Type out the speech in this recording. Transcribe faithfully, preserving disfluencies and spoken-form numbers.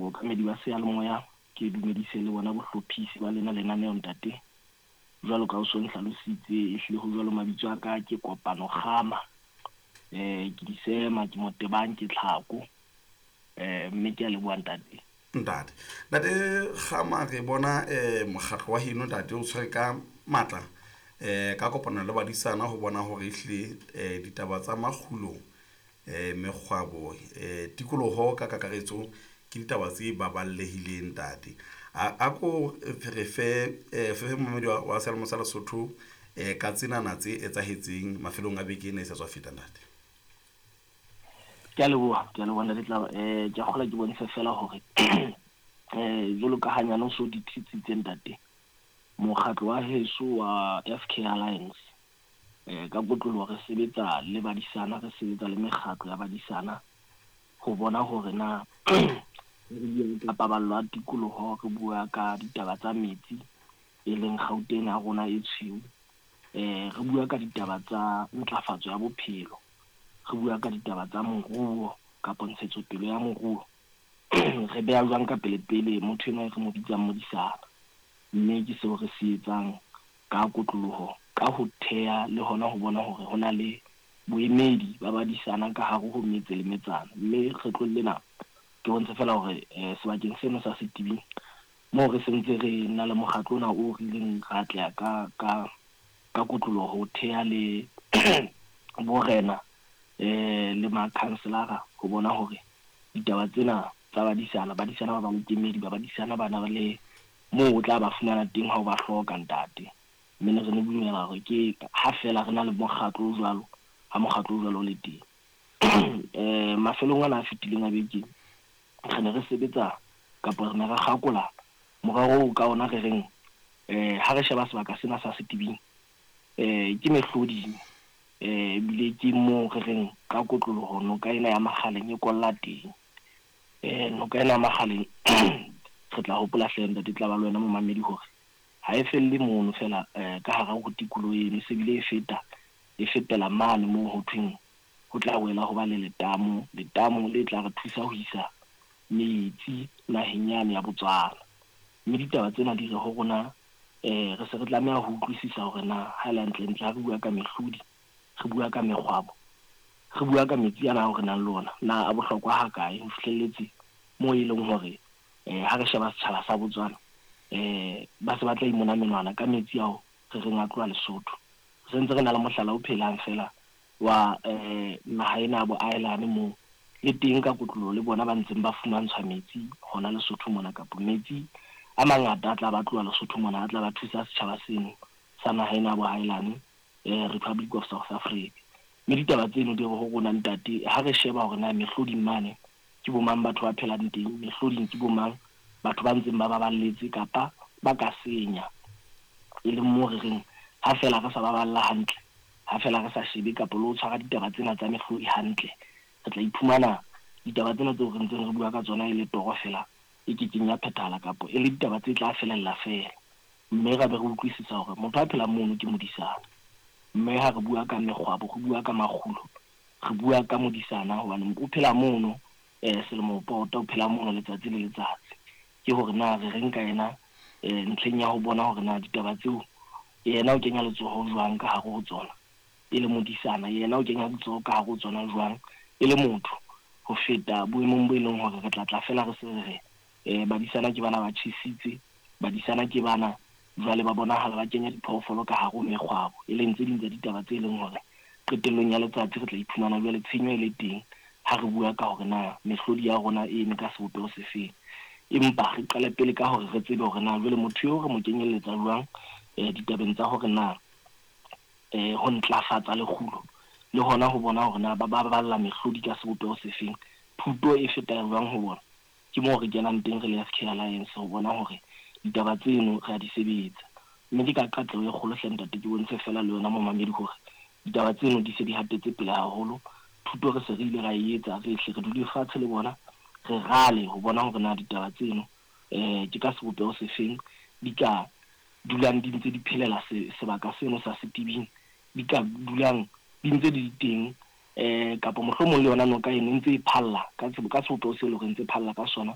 Bookamedi ba seyalemoya, ke dumedise le bona bohlophisi ba lena lenaneo ntate. Jwalo ka o so nhlalositse, ehlile ho jwalo. Mabitso a ka ke Kopano Kgama, eh ke Disema, ke Motebang, ke Tlhako, eh mme ke a leboha ntate. Ntate, ntate Kgama, re bona eh mokgatlo wa heno, ntate, o tshwere ka matla eh ka kopano le badisana ho bona hore ehlile eh ditaba tsa makgulo, eh mekgwabo, eh tikoloho ka kakaretso ke ditaba tse baballehileng. Ntate, a ko re fe eh fe momamedi wa seyalemoya sa Lesotho eh ka tsenana tse etsahetseng mafelong a beke ena e sa tswa feta, ntate. Ke a leboha, ke a leboha ntate Tlaba. eh ke a kgola ke bontshe fela hore eh jwalo ka hanyane o so di thitsitse, ntate, mokgatlo wa heso wa F K Alliance, eh ka kotloloho re sebetsa le badisana, re sebetsa le mekgatlo ya badisana ho bona hore na re bua ka paballo ya tikoloho, re bua ka ditaba tsa metsi, e leng Gauteng ya rona e tshweu, eh re bua ka ditaba tsa ntlafatso ya bophelo, re bua ka ditaba tsa moruo kapa ntshetsopele ya moruo, re beha jwang ka pele pele motho enwa e re mo bitsang modisana. Mme ke seo re se etsang ka kotloloho ka ho theha le hona ho bona hore ho na le boemedi ba badisana ka hare ho metse le metsana. Mme kgetlong lena ke bontshe fela hore eh sebakeng seno sa Setibing moo re sentse re na le mokgatlo ona o re ileng ra atleha ka ka ka kotloloho ho theha le borena eh le makhanselara ho bona hore ditaba tsena tsa badisana, badisana ba ba le kemedi, ba badisana ba na le moo o tla ba fumana teng ha o ba hloka, ntate. Mme ne re ne dumela hore ke ha fela re na le mokgatlo o jwalo, ha mokgatlo o jwalo o le teng. eh mafelong ana a fetileng a beke re ne re sebetsa kapa re ne re kgakola morero oo ka ona re reng eh ha re sheba sebaka sena sa Setibing, eh ke mehloding, eh ebile ke moo re reng ka kotloloho noka ena ya Makgaleng e kolla teng. eh noka ena ya Makgaleng, re tla hopola hle ntate tla ba le wena momamedi hore ha e felle mono fela eh ka hara ho tikoloho eno, se bile e feta, e fetela mane moo ho thweng ho tla wela ho ba le letamo, letamo le tla re thusa ho isa metsi naheng yane ya Botswana. Mme ditaba tsena di re ho rona eh re se re tlameha ho utlwisisa hore na ha le hantle-ntle ha re bua ka mehlodi, re bua ka mekgwabo, re bua ka metsi ana ao re nang le ona, na a bohlokwa hakae ho fihlelletse moo e leng hore eh ha re sheba setjhaba sa Botswana eh ba se ba tla imona menwana ka metsi ao re reng a tloha Lesotho. Re sentse re na le mohlala o phelang fela wa eh naha ena ya boahelane moo le teng ka kotloloho le bona ba ntseng ba fumantshwa metsi hona Lesotho mona, kapa metsi a mangata a tla ba tloha Lesotho mona a tla ba thusa setjhaba seno sa naha ena ya boahelane, eh Republic of South Africa. Mme ditaba tseno di re ho rona, ntate, ha re sheba hore na mehloding mane ke bo mang batho ba phelang teng, mehloding ke bo mang batho ba ntseng ba baballetse kapa ba ka senya, e leng moo re reng ha fela re sa baballa hantle, ha fela re sa shebe kapa le ho tshwara ditaba tsena tsa mehlodi hantle, re tla iphumana ditaba tsena tseo re ntseng re bua ka tsona e le toro fela e kekeng ya phethahala kapa e le ditaba tse tla felella fela. Mme ra be re utlwisisa hore motho a phelang mono ke modisana, mme ha re bua ka mekgwabo, re bua ka makgulo, re bua ka modisana hobane o phela mono eh selemo pota, o phela mono letsatsi le letsatsi. Ke hore na re reng ka yena eh ntlheng ya ho bona hore na ditaba tseo yena o kenya letsoho jwang ka hare ho tsona e le modisana, yena o kenya letsoho ka hare ho tsona jwang e le motho, ho feta boemong bo e leng hore re tla tla fela re se re re eh badisana ke bana ba tjhesitse, badisana ke bana jwale ba bonahala ba kenya diphoofolo ka hare ho mekgwabo, e leng tse ding tsa ditaba tse leng hore qetellong ya letsatsi re tla iphumana jwale tshenyo e le teng ha re bua ka hore na mehlodi ya rona e eme ka sebopeho se feng. Empa re qale pele ka hore re tsebe hore na jwale motho eo re mo kenyelletsa jwang eh ditabeng tsa hore na eh ho ntlafatsa lekgulo le hona ho bona hore na ba baballa mehlodi ka sebopeho se feng, thuto e feta jwang ho bona. Ke moo re kenang teng re le F K Alliance ho bona hore ditaba tseno re a di sebetsa. Mme ke ka qatleho e kgolo hle ntate ke bontshe fela le wena momamedi hore ditaba tseno di se di hatetse pele haholo. Thuto re se re ile ra e etsa, re hle re dule fatshe le bona, re rale ho bona hore na ditaba tseno eh ke ka sebopeho se feng di ka dulang di ntse di phelela sebaka seno sa Setibing, di ka dulang di ntse di teng eh kapa mohlomong le yona noka eno e ntse e phalla ka ka sebopeho seo e leng hore ntse phalla ka sona.